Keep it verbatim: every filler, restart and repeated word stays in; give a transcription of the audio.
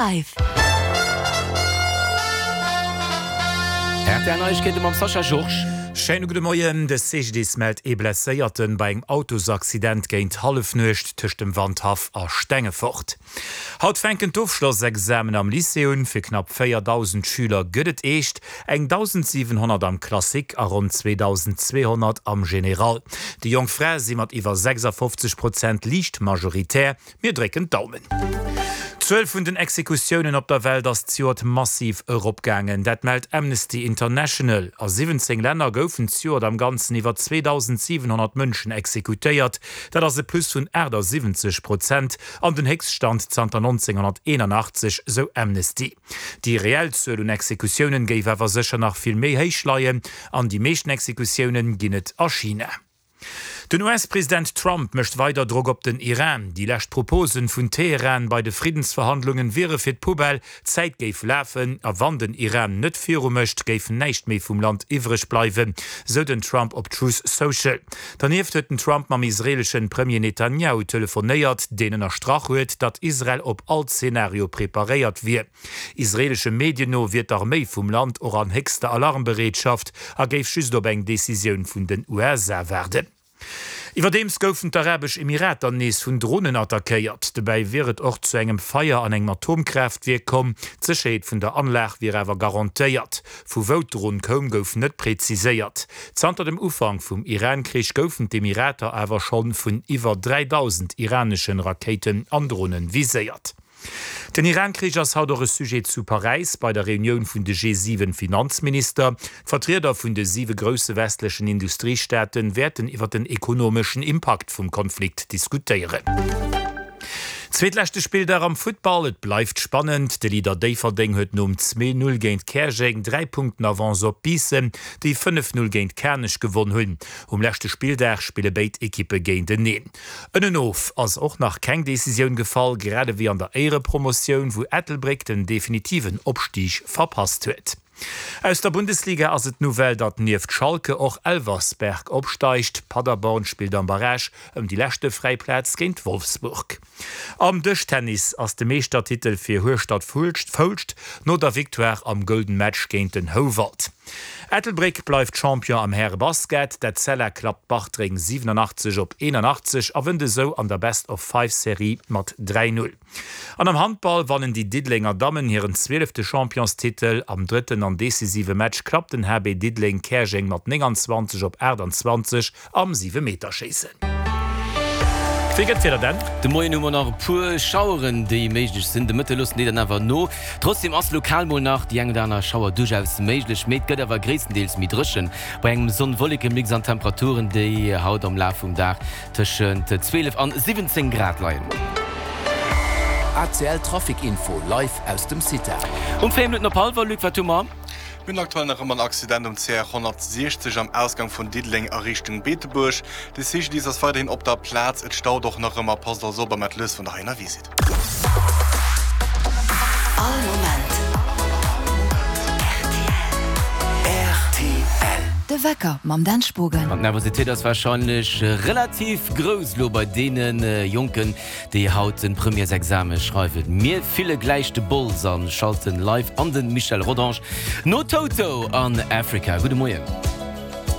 Live. R T L Neiegkeete mam Sascha Georges. Schéine gudde Moien. De C G D I S mellt ee Blesséierten bei engem Autosaccident géint Hallefnuecht tëscht dem Wandhaff a Stengefort. Haut fänken d'Ofschlossexamen am Lycée un. Fir knapp véierdausend Schüler gëtt et eescht, eng dausendsiwenhonnert am Classique a ronn zweedausendzweehonnert am Général. Déi jonk Frae si mat iwwer sechsafofzeg Prozent liicht majoritär. Mir drécken d'Daumen. D'Zuel vun den Exekutiounen op der Welt ass zejoert massiv eropgaangen. Dat mellt Amnesty International. A siwwenzéng Länner goufen zejoert am Ganzen iwwer zweedausendziwenhonnert Mënschen exekutéiert. Dat ass e Plus vun aachtasiwwenzeg Prozent an den Héchststand zanter nonzénghonnerteenanachtzeg, sou Amnesty. Déi reell Zuel un Exekutiounen géif awer sécher nach vill méi héich leien. An déi meeschten Exekutiounen ginn et a China. Den U S-President Trump mécht weider Drock op den Iran. Déi lescht Proposen vun Teheran bei de Friddensverhandlungen wiere fir d'Poubelle, d'Zäit géif lafen a wann den Iran net viru mécht, géif näischt méi vum Land iwwreg bleiwen, sou den Trump op Truth Social. Dernieft huet den Trump mam israeeleschen Premier Netanjahu telefonéiert, deen ënnerstrach huet, datt Israel op all Zenario preparéiert wier. Israeelesche Medien no wier d'Arméi vum Land och an héchster Alarmbereetschaft a géif just op eng Decisioun vun den U S A waarden. Iwwerdeems goufen d'Arabesch Emirater nees vun Dronen attackéiert. Dobäi wier et och zu engem Feier an engem Atomkraaftwierk komm. D'Sécherheet vun der Anlag wier awer garantéiert. Vu wou d'Dron koum, gouf net präziséiert. Zanter dem Ufank vum Iran-Krich goufen d'Emirater awer schonn vun iwwer dräidausend iraneschen Rakéiten an Dronen viséiert. Den Iran-Krich ass haut och e Sujet zu Paräis bei der Reunioun vun de G siwen Finanzminister. D'Vertrieder vun de siwe grousse westlechen Industriestaate wäerten iwwer den ekonomeschen Impakt vum Konflikt diskutéieren. Zweetleschte Spilldag am Futtball, et bleift spannend. De Leader Déifferdeng huet nom zwee Null géint Käerjeng dräi Punkten Avance op Biissen, déi fënnef Null géint Kanech gewonn hunn. Um leschte Spilldag spille béid Ekippe géinteneen. Ënnenof ass och nach keng Decisioun gefall, grad ewéi an der Éierepromotioun, wou Ettelbréck den definitiven Opstig verpasst huet. Aus der Bundesliga ass et d'Nouvelle, datt nieft Schalke och Elversberg opsteigt. Paderborn spillt am Barrage ëm déi leschte fräi Plaz géint Wolfsburg. Am Dëschtennis ass de Meeschtertitel fir Hueschtert Foulscht no der Victoire am Golden Match géint den Houwald. Ettelbréck bleift Champion am Härebasket. D'Etzella klappt Bartreng siwenanachtzeg op eenanachtzeg a wënnt esou an der Best-of-Five-Serie mat dräi Null. An am Handball wannen déi Diddelenger Dammen hiren zwielefte Championstitel. Am drëtten an decisive Match klappt den H B Diddeleng Käerjeng mat nénganzwanzeg op aachtanzwanzeg am Siwemeterschéissen. Wéi gëtt d'Wieder dann? De Moien hu mer nach e puer Schaueren, déi méiglech sinn. De Mëtte loossen déi dann awer no. Trotzdeem ass lokal mol nach déi eng oder aner Schauer duerchaus méiglech, mee et gëtt awer gréisstendeels méi dréchen bei engem Sonn-Wolleke-Mix an Temperaturen, déi haut am Laf vum Dag tëschent zwielef an siwwenzéng Grad leien. A C L Trafic Info live aus dem CITA. Um véier Minutten op hallwer, Luc, wat hu mer? Mir hunn aktuell nach ëmmer en Accident um C R honnertsiechzeg am Ausgang vun Diddeleng a Richtung Beetebuerg. De C G D I S ass weiderhin op der Plaz, et staut och nach ëmmer. Passt also op a maacht lues, wann der hei ënnerwee sidd. All Moment R T L. De Wecker mam Dan Spogen. An d'Nervositéit ass warscheinlech relativ grouss elo bei deene Jonken, déi haut de Premièresexame schreiwen. Mir fille gläich de Bols a schalten live an de Michel Rodange no Toto an Africa. Gudde Moien.